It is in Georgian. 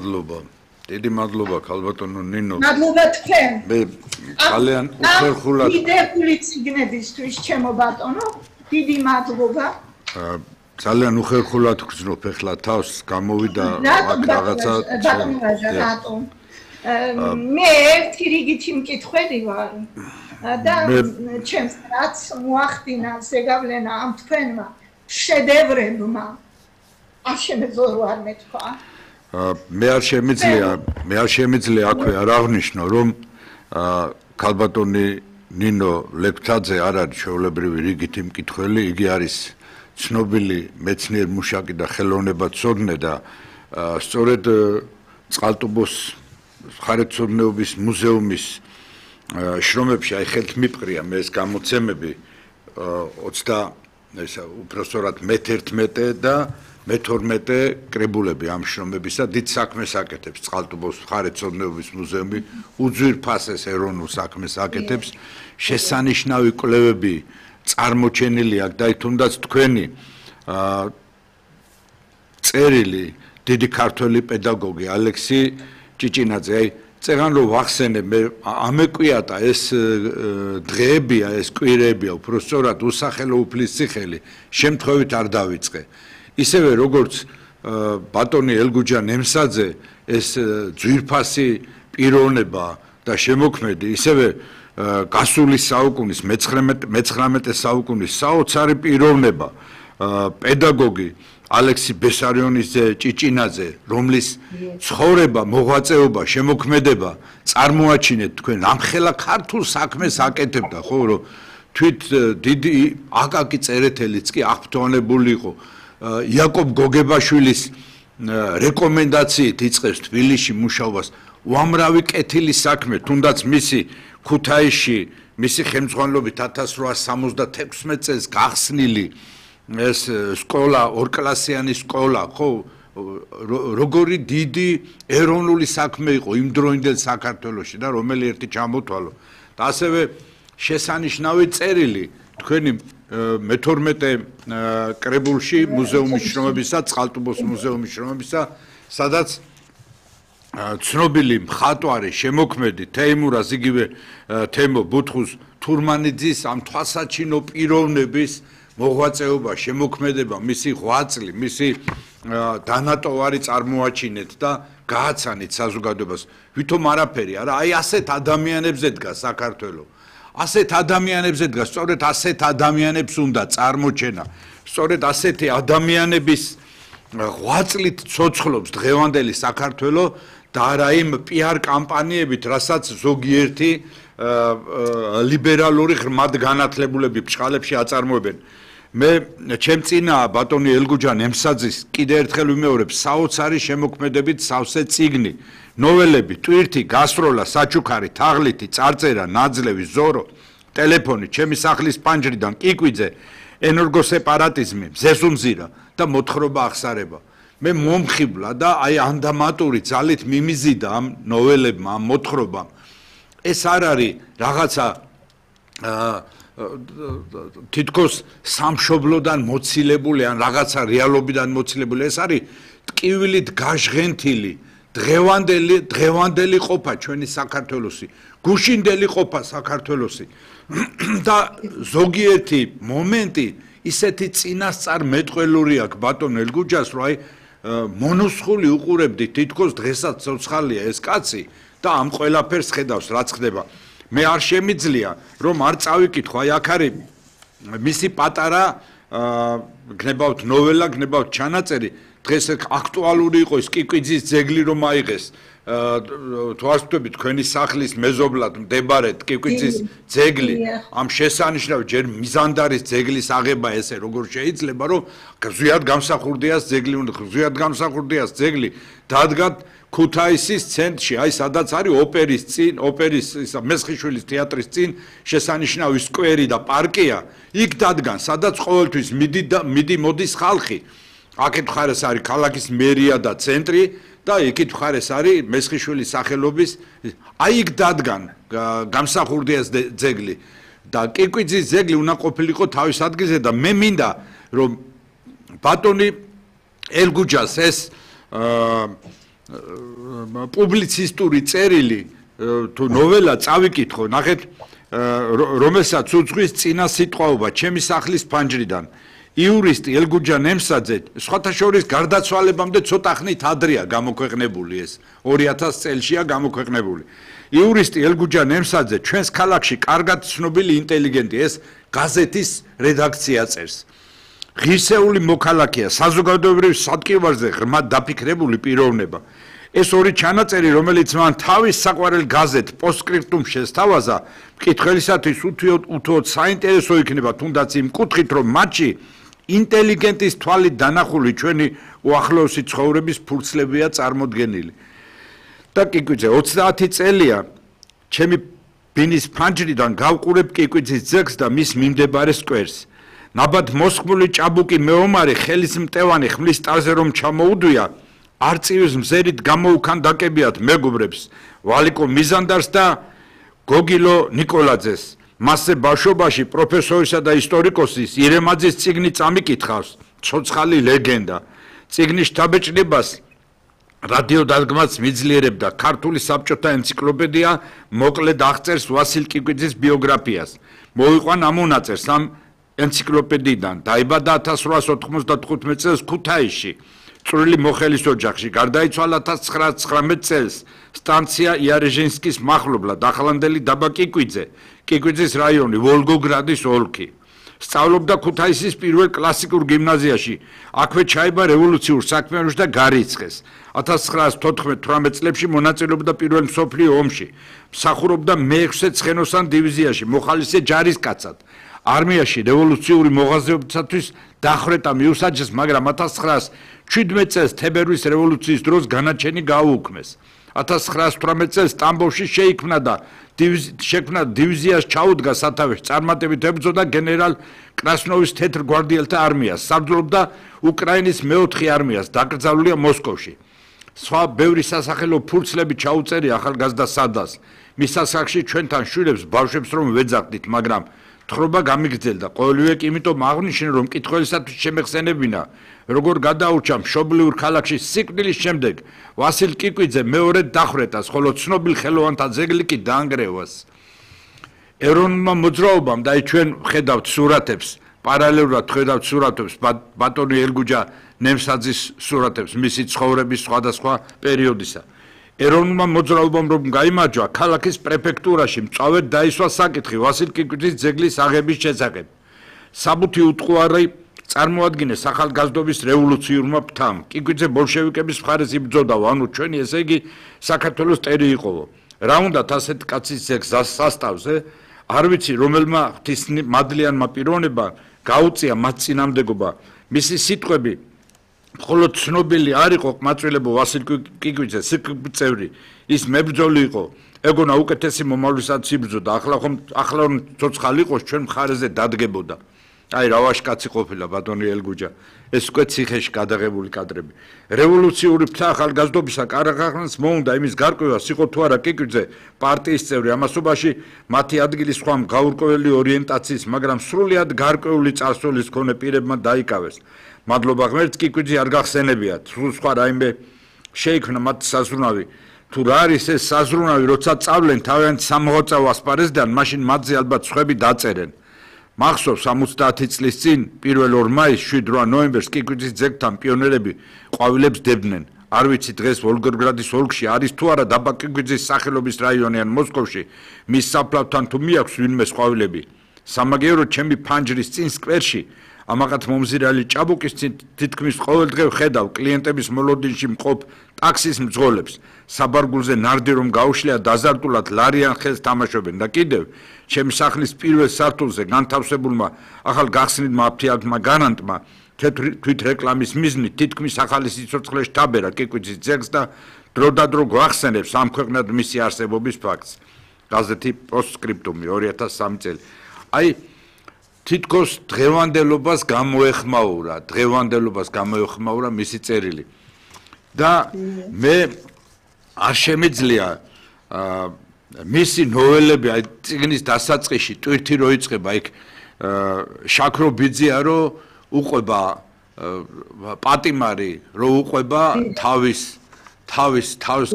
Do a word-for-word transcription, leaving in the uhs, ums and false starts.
მადლობა. დიდი მადლობა ქალბატონო ნინო. მადლობა თქვენ. მე ძალიან უხერხულად დიდებული ციგნებისთვის ჩემო ბატონო, დიდი მადლობა. ძალიან უხერხულად გრძნობ ახლა თავს, გამოვიდა რაღაცა ბატონო რატომ? მე ერთი რიგითი მკითხველი ვარ და ჩემს რაც მოახდინა ზეგავლენა ამ თქვენმა შედევრებმა. არ შემეძლო არ მეთქვა. მე არ შემიძლია, მე არ შემიძლია აქვე არ აღნიშნო, რომ ქალბატონი ნინო ლეკვთაძე არ არის ჩვეულებრივი რიგითი მკითხველი, იგი არის ცნობილი მეცნიერ მუშაკი და ხელოვნებაცოდნე და სწორედ წყალტუბოს მხარეთმცოდნეობის მუზეუმის შრომებში აი ხელთმიპყრია მე ეს გამოცემები ოცდა ესა უпростоრად მეთერთმეტე და მეთორმეტე კრებულები ამ შრომებისა დიდ საქმეს აკეთებს წყალტუბოს მხარეთმცოდნეობის მუზეუმი უძვირფასეს ეროვნულ საქმეს აკეთებს შესანიშნავი კვლევები წარმოჩენილი აქვს და თუნდაც თქვენი წერილი დიდი ქართველი პედაგოგი ალექსი ჭიჭინაძე აი წერან რომ ვახსენე მე ამეკვიატა ეს დღეებია ეს კვირებია უпростоრად უსახელო უფლის ციხელი შემთხვევით არ დავიწყე ისევე როგორც ბატონი ელგუჯა ნემსაძე ეს ძვირფასი პიროვნება და შემოქმედი ისევე გასული საუკუნის მეცხრამეტე საუკუნის საოცარი პიროვნება პედაგოგი ალექსი ბესარიონის ჭიჭინაძე რომლის ცხოვრება მოღვაწეობა შემოქმედება წარმოაჩინეთ თქვენ ამხელა ქართულ საქმეს აკეთებდა ხო რომ თვით დიდი აკაკი წერეთელიც კი აღფრთოვანებული იყო იაკობ გოგებაშვილის რეკომენდაციით იწყებს თბილისში მუშაობას უამრავი კეთილი საქმე თუნდაც მისი ქუთაისში მისი ხელმძღვანელობით ათას რვაას სამოცდათექვსმეტ წელს გახსნილი ეს სკოლა ორკლასიანი სკოლა ხო როგორი დიდი ეროვნული საქმე იყო იმ დროინდელ საქართველოში და რომელი ერთი ჩამოთვალო და ასევე შესანიშნავი წერილი თქვენი მეთორმეტე კრებულში მუზეუმის შრომებისა წყალტუბოს მუზეუმის შრომებისა სადაც ცნობილი მხატვარი შემოქმედი თეიმურაზ იგივე თემო ბუთხუს თურმანიძის ამ თვალსაჩინო პიროვნების მოღვაწეობა შემოქმედება მისი ღვაწლი მისი დანატოვარი წარმოაჩინეთ და გააცანით საზოგადოებას ვითომ არაფერი არა აი ასეთ ადამიანებზე დგას საქართველო ასეთ ადამიანებზე დგას სწორედ ასეთ ადამიანებს უნდა წარმოჩენა სწორედ ასეთი ადამიანების ღვაწლით ცოცხლობს დღევანდელი საქართველო და არა იმ პიარ კამპანიებით რასაც ზოგიერთი ლიბერალური ღრმად განათლებულები ბჭყალებში აწარმოებენ მე ჩემ წინა ბატონი ელგუჯა ნემსაძის კიდე ერთხელ ვიმეორებ საოცარი შემოქმედებით სავსე წიგნი ნოველები ტვირთი გასროლა საჩუქარი თაღლითი წარწერა ნაძლევი ზორო ტელეფონი ჩემი სახლის პანჯრიდან კიკვიძე ენერგოსეპარატიზმი ზესუმზირა და მოთხრობა აღსარება მე მომხიბლა და აი ანდამატური ძალით მიმიზიდა ამ ნოველებმა ამ მოთხრობამ ეს არ არის რაღაცა თითქოს სამშობლოდან მოცილებული ან რაღაცა რეალობიდან მოცილებული ეს არის ტკივილით გაჟღენთილი დღევანდელი დღევანდელი ყოფა ჩვენი საქართველოსი გუშინდელი ყოფა საქართველოსი და ზოგიერთი მომენტი ისეთი წინასწარ მეტყველური აქვს ბატონ ელგუჯას რომ აი მონოსხული უყურებდი თითქოს დღესაც ცოცხალია ეს კაცი და ამ ყველაფერს ხედავს რაც ხდება მე არ შემიძლია რომ არ წავიკითხო აი აქ არის მისი პატარა გნებავთ ნოველა გნებავთ ჩანაწერი დღეს აქტუალური იყო ის კიკვიძის ძეგლი რომ აიღეს თვალსაჩინო თქვენი სახლის მეზობლად მდებარე კიკვიძის ძეგლი ამ შესანიშნავი ჯერ მიზანდარის ძეგლის აღება ესე როგორ შეიძლება რომ ზვიად გამსახურდიას ძეგლი უნდა ზვიად გამსახურდიას ძეგლი დადგათ ქუთაისის ცენტრში აი სადაც არის ოპერის წინ ოპერის ისა მესხიშვილის თეატრის წინ შესანიშნავი სკვერი და პარკია იქ დადგან სადაც ყოველთვის მიდი და მიდი მოდის ხალხი აქეთ მხარეს არის ქალაქის მერია და ცენტრი და იქით მხარეს არის მესხიშვილის სახელობის აი იქ დადგან გამსახურდიას ძეგლი და კიკვიძის ძეგლი უნდა ყოფილიყო თავის ადგილზე და მე მინდა რომ ბატონი ელგუჯას ეს პუბლიცისტური წერილი თუ ნოველა წავიკითხო, ნახეთ, რომელსაც უძღვის წინა სიტყვაობა ჩემი სახლის ფანჯრიდან. იურისტი ელგუჯა ნემსაძე სხვათა შორის გარდაცვალებამდე ცოტა ხნით ადრეა გამოქვეყნებული ეს ორი ათას წელშია გამოქვეყნებული. იურისტი ელგუჯა ნემსაძე ჩვენს ქალაქში კარგად ცნობილი ინტელიგენტი ეს გაზეთის რედაქცია წერს. ღირსეული მოქალაქეა, საზოგადოებრივ სადგივარზე ღრმად დაფიქრებული პიროვნება. ეს ორი ჩანაწერი, რომელიც მან თავის საყვარელ გაზეთ პოსტსკრიპტუმ შესთავაზა, მკითხველისათვის უთუოდ საინტერესო იქნება, თუნდაც იმ კუთხით, რომ მათში ინტელიგენტის თვალით დანახული ჩვენი უახლოესი ცხოვრების ფურცლებია წარმოდგენილი. და კიკვიძე ოცდაათი წელია ჩემი ბინის ფანჯრიდან გავყურებ კიკვიძის ძეგლს და მის მიმდებარე სკვერს. ნაბად მოსხმული ჭაბუკი მეომარი ხელის მტევანი ხმლის ტარზე რომ ჩამოუდვია, არწივის მზერით გამოუქანდაკებიათ მეგობრებს ვალიკო მიზანდარს და გოგილო ნიკოლაძეს. მასზე ბავშვობაში პროფესორისა და ისტორიკოსის ირემაძის წიგნი წამიკითხავს, ცოცხალი ლეგენდა. წიგნის შთაბეჭდებას რადიო დადგმაც მიძლიერებდა ქართული საბჭოთა ენციკლოპედია მოკლედ აღწერს ვასილ კიკვიძის ბიოგრაფიას. მოიყვან ამ მონაწერს ამ ენციკლოპედიიდან. დაიბადა ათას რვაასი ოთხმოცდათხუთმეტ წელს ქუთაისში. წვრილი მოხელის ოჯახში, გარდაიცვალა ათას ცხრაასი ცხრამეტ წელს სტანცია იარეჟინსკის მახლობლად, ახლანდელი დაბა კიკვიძე, კიკვიძის რაიონი, ვოლგოგრადის ოლქი. სწავლობდა ქუთაისის პირველ კლასიკურ გიმნაზიაში, აქვე ჩაება რევოლუციურ საქმიანობაში და გარიცხეს. ათას ცხრაასი თოთხმეტ-თვრამეტ წლებში მონაწილეობდა პირველ მსოფლიო ომში, მსახურობდა მეექვსე ცხენოსან დივიზიაში, მოხალისე ჯარისკაცად. არმიაში რევოლუციური მოღვაწეობისათვის დახვრეტა მიუსაჯეს, მაგრამ ათას ცხრაასი შვიდმეტ წელს თებერვლის რევოლუციის დროს განაჩენი გააუქმეს. ათას ცხრაასი თვრამეტ წელს სტამბოვში შეიქმნა და შექმნა დივიზიას ჩაუდგა სათავეში, წარმატებით ებრძოდა გენერალ კრასნოვის თეთრ გვარდიელთა არმიას, საბრძოლობდა უკრაინის მეოთხე არმიას, დაკრძალულია მოსკოვში. სხვა ბევრი სასახელო ფურცლები ჩაუწერია ახალგაზრდა სადას. მის სასახში ჩვენთან შვილებს ბავშვებს რომ ვეძახდით, მაგრამ თხრობა გამიგრძელდა. ყოველივე კი იმიტომ აღნიშნე, რომ მკითხველისათვის შემეხსენებინა, როგორ გადაურჩა მშობლიურ ქალაქში სიკვდილის შემდეგ ვასილ კიკვიძე მეორედ დახვრეტას, ხოლო ცნობილ ხელოვანთა ძეგლი კი დაანგრევას. ეროვნულმა მოძრაობამ და ჩვენ ხედავთ სურათებს, პარალელურად ხედავთ სურათებს ბატონი ელგუჯა ნემსაძის სურათებს, მისი ცხოვრების სხვადასხვა პერიოდისა. ეროვნულმა მოძრაობამ რომ გაიმარჯვა, ქალაქის პრეფექტურაში მწვავედ დაისვა საკითხი ვასილ კიკვიძის ძეგლის აღების შესახებ. საბუთი უტყუარი წარმოადგინეს ახალგაზრდობის რევოლუციურმა ფთამ. კიკვიძე ბოლშევიკების მხარეს იბრძოდაო, ანუ ჩვენი ესე იგი საქართველოს ტერი იყოვო. რა უნდათ ასეთ კაცის ძეგლს სასტავზე? არ ვიცი რომელმა ღვთისმადლიანმა პიროვნებამ გაუწია მათ წინამდებობა. მისი სიტყვები მხოლოდ ცნობილი არ იყო ყმაწვილებო ვასილ კიკვიძე, სიკწევრი, ის მებრძოლი იყო, ეგონა უკეთესი მომავლისათვის იბრძოდა, ახლა ხომ ახლა რომ ცოცხალი იყოს ჩვენ მხარეზე დადგებოდა. აი რა ვაშკაცი ყოფილა ბატონი ელგუჯა, ეს უკვე ციხეში გადაღებული კადრები. რევოლუციური ფთა ახალგაზრდობისა კარახანს მოუნდა იმის გარკვევას, იყო თუ არა კიკვიძე პარტიის წევრი, ამასობაში მათი ადგილი სხვა გაურკვეველი ორიენტაციის, მაგრამ სრულიად გარკვეული წარსულის მქონე პირებმა დაიკავეს. მადლობა ღმერთს, კიკვიძე არ გახსენებიათ, სულ სხვა რაიმე შეიქმნა მათ საზრუნავი. თუ რა არის ეს საზრუნავი, როცა წავლენ თავიანთ სამოღვაწეო ასპარეზიდან, მაშინ მათზე ალბათ სხვები დაწერენ. მახსოვს ორმოცდაათი წლის წინ პირველ ორ მაისს შვიდ რვა ნოემბერს კიკვიძის ძეგლთან პიონერები ყვავილებს დებდნენ. არ ვიცი დღეს ვოლგოგრადის ოლქში არის თუ არა დაბა კიკვიძის სახელობის რაიონი ან მოსკოვში მის საფლავთან თუ მიაქვს ვინმე ყვავილები. სამაგიეროდ ჩემი ფანჯრის წინ სკვერში ამაღათ მომზირალი ჭაბუკის თითქმის ყოველდღე ვხედავ კლიენტების მოლოდინში მყოფ ტაქსის მძღოლებს. საბარგულზე ნარდი რომ გაუშლია დაზარტულად ლარიან ხელს თამაშობენ და კიდევ ჩემი სახლის პირველ სართულზე განთავსებულმა ახალ გახსნილმა აფთიაქმა განანტმა თვით რეკლამის მიზნით თითქმის ახალი სიცოცხლე შთაბერა კიკვიძის ძეგლს და დროდადრო გვახსენებს ამ ქვეყნად მისი არსებობის ფაქტს. გაზეთი პოსტსკრიპტუმი ორი ათას სამი წელი. აი თითქოს დღევანდელობას გამოეხმაურა, დღევანდელობას გამოეხმაურა მისი წერილი. და მე არ შემიძლია მისი ნოველები, აი წიგნის დასაწყისში ტვირთი რო იწყება, იქ შაქრო ბიძია რო უყვება პატიმარი, რო უყვება თავის თავის თავის